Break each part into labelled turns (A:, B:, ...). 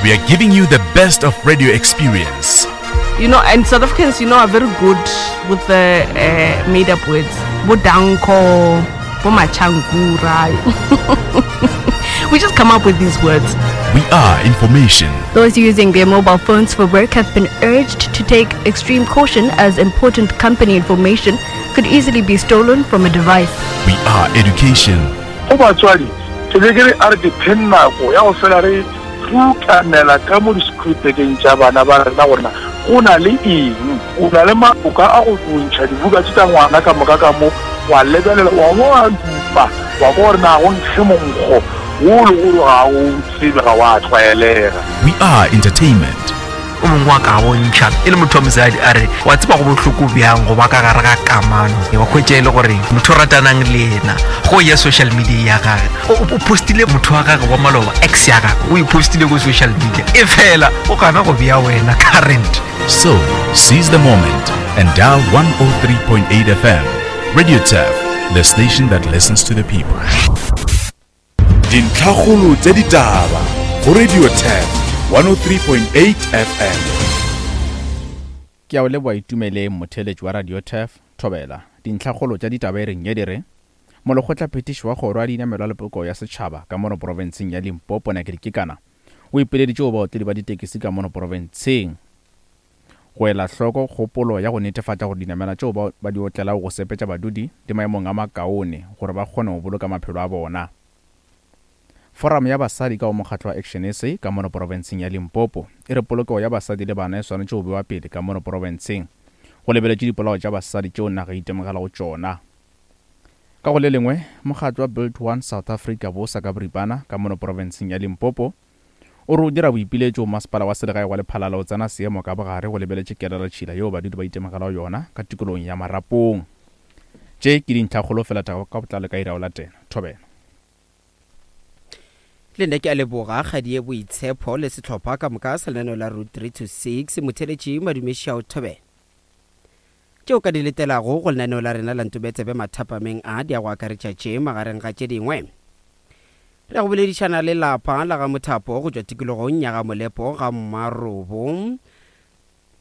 A: We are giving you the best of radio experience.
B: You know, and South Africans, you know, are very good with the uh, made up words. Bodanko, Bomachangura. we just come up with these words.
A: We are information.
C: Those using their mobile phones for work have been urged to take extreme caution as important company information could easily be stolen from a device.
A: We are education.
D: Go batswadi, ke be ke re a re dipheng nako ya go fela re rutanela ka mo di-schoolbageng tša bana ba rena gore na go na le eng. O na le maoka a go ntšha dibuka tše tša ngwana ka moka ka mo, wa lebelela, wa bo wa dupa, wa kwa gore na go nkge monkgo wo le gore ga o tsebe, ga wa tlwaelega.
A: We are entertainment.
E: O mongwe wa ka bontšha e le motho wa mosadi a re, Wa tseba go bohloko bjang go ba ka gare ga kamano, wa hwetša e le gore motho o ratanang le yena go ya social media ya gage o postile motho wa gage wa maloba, ex ya gage o e postile ko social media, e fela o gana go bea wena current.
A: So, seize the moment and dial 103.8 FM. Radio Turf, the station that listens to the people. Dintlhakgolo tša ditaba go Radio Turf 103.8 FM.
F: Ke a o leboa Itumeleng motheeletši wa Radio Turf, Thobela. Dintlhakgolo tša ditaba e reng ye di re, Molekgotlaphethiši wa Kgoro ya Dinamelwa le Polokego ya Setšhaba ka mono profenseng ya Limpopo Nakedi Kekana o ipileditše go baotledi ba ditekisi ka mono profenseng go ela hloko kgopolo ya go netefatša gore dinamela tšeo ba ba di otlelago go sepetša badudi di maemong a makaone gore ba kgone go boloka maphelo a bona. Foramo ya basadi ka go mokgatlo wa ActionSA ka mono porofenseng ya Limpopo e re polokego ya basadi le bana e swanetše go bewa pele ka mono porofenseng go lebeletšwe dipolao tša basadi tšeo naga e itemogelago tšona. Ka go le lengwe, mokgatlo wa Build One South Africa, bosa ka boripana, ka mono porofenseng ya Limpopo O re o dira boipiletšo go masepala wa selegae wa Lephalale go tsena seemo ka bogare go lebeletše kelelatšhila yeo badudi ba itemogelago yona ka tikologong ya Marapong. Tše ke dintlhakgolo fela taba ka botlalo ka iri ya go latela. Thobela.
G: Le nna ke a leboga Kgadie Boitshepho le sehlopha ka moka sa lenaneo la Route 3 to 6. Motheeletši Madume Šiao Thobela. Tše o ka di letelago go lenaneo la rena la Ntobetsebe mathapameng a di a go akaretša tše magareng ga tše dingwe. Re ya go boledišana le lapa la ga Mothapo go tšwa tikologong ya ga Molepo ga Mmarobo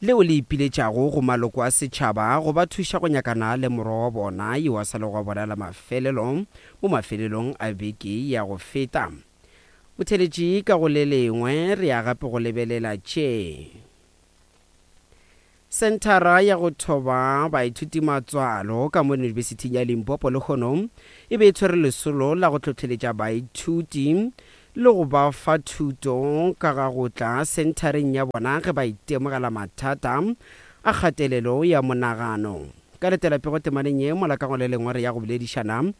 G: leo le ipiletšago go maloko a setšhaba go ba thuša go nyakana le morwa wa bona yo a sa lego wa bona la mafelelo mo mafelelong a beke ya go feta. Motheeletši ka go le lengwe re ya gape go lebelela tše. Senthara ya go thoba baithuti matswalo ka mo Yunibesithing ya Limpopo lehono e be e tshwere lesolo la go hlohleletša baithuti le go ba fa thuto ka ga go tla senthareng ya bona ge ba itemogela mathata a kgatelelo ya monagano. Ka letela pego temaneng ye mola ka go le lengwe re ya go boledišana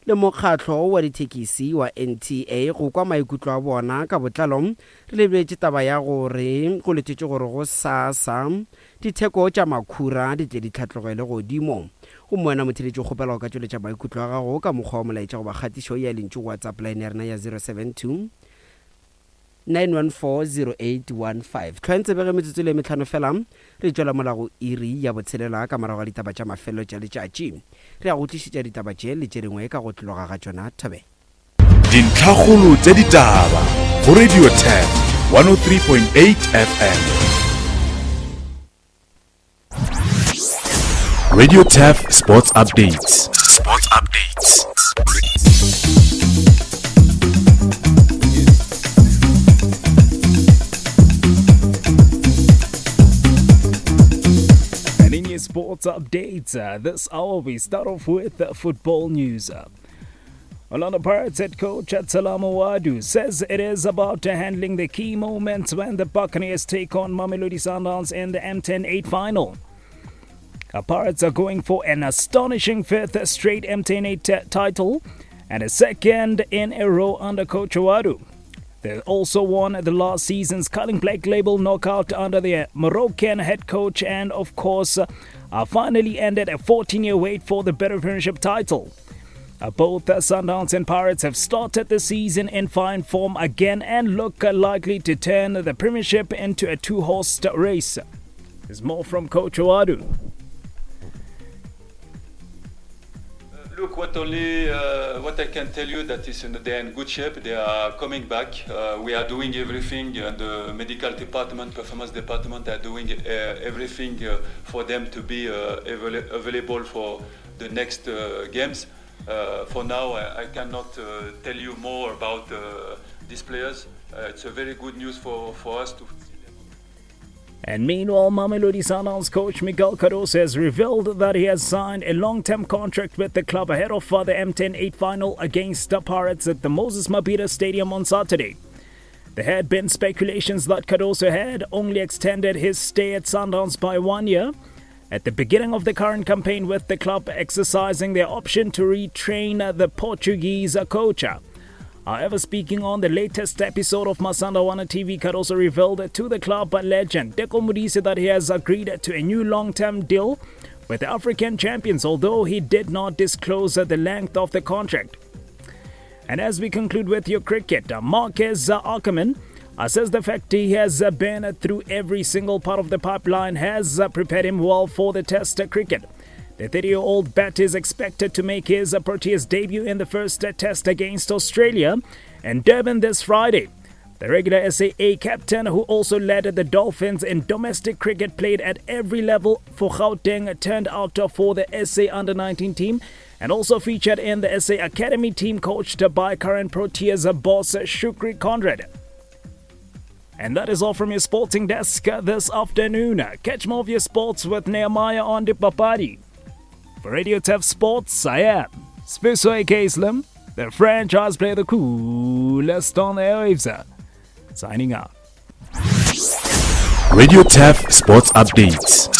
G: le mokgatlo wa dithekisi wa NTA go kwa maikutlo a bona ka botlalo. Re lebeletše taba ya gore go letetšwe gore gosasa ditheko tša makhura di tle di hlatlogele godimo. Gomme wena motheeletši o kgopela go ka tšweletša maikutlo a gago ka mokgwa wa molaetša goba kgatišo ya lentšu go WhatsApp line ya rena ya 072 9140815. Hlwang tsebe ge metsotso e le metlhano fela re tšwela mola go iri ya botshelela ka morago ga ditaba tša mafelelo tša letšatši. Re ya go tlišetša ditaba tše le tše dingwe ka go tloga ga tšona Thobela.
A: Dintlhakgolo tša ditaba go Radio 10 103.8 FM. Radio Turf Sports Updates. Sports Updates.
H: And in your sports updates, uh, this hour we start off with uh, football news. Orlando Pirates head coach Salam Ouaddou says it is about handling the key moments when the Buccaneers take on Mamelodi Sundowns in the MTN 8 final. The Pirates are going for an astonishing fifth straight MTN 8 title and a second in a row under coach Ouaddou. They also won the last season's Carling Black Label knockout under the Moroccan head coach and, of course, uh, finally ended a 14 year wait for the Better Premiership title. Uh, both the Sundowns and Pirates have started the season in fine form again and look likely to turn the Premiership into a two horse race. There's more from Coach Ouaddou.
I: Look, what only uh, what I can tell you that is in, they are in good shape. They are coming back. Uh, we are doing everything, and the medical department, performance department are doing uh, everything uh, for them to be uh, avail available for the next uh, games. Uh, for now, I, I cannot uh, tell you more about uh, these players. Uh, it's a very good news for, for us to
H: And meanwhile, Mamelodi Sundowns coach Miguel Cardoso has revealed that he has signed a long-term contract with the club ahead of the MTN 8 final against the Pirates at the Moses Mabhida Stadium on Saturday. There had been speculations that Cardoso had only extended his stay at Sundowns by one year. At the beginning of the current campaign with the club exercising their option to retrain the Portuguese coach. However, speaking on the latest episode of Masandawana TV, Cardoso revealed to the club legend Teko Modise that he has agreed to a new long-term deal with the African champions, although he did not disclose the length of the contract. And as we conclude with your cricket, Marques Ackerman says the fact he has been through every single part of the pipeline has prepared him well for the Test cricket. The 30 year old bat is expected to make his Proteas debut in the first test against Australia in Durban this Friday. The regular SAA captain, who also led the Dolphins in domestic cricket, played at every level for Gauteng, turned out for the SA Under 19 team, and also featured in the SA Academy team coached by current Proteas boss Shukri Conrad. And that is all from your sporting desk this afternoon. Catch more of your sports with Nehemiah on the Papadi. For Radio Turf Sports, I am Spuso AK Slim, the franchise player, the coolest on the airwaves. Signing out.
A: Radio Turf Sports Updates.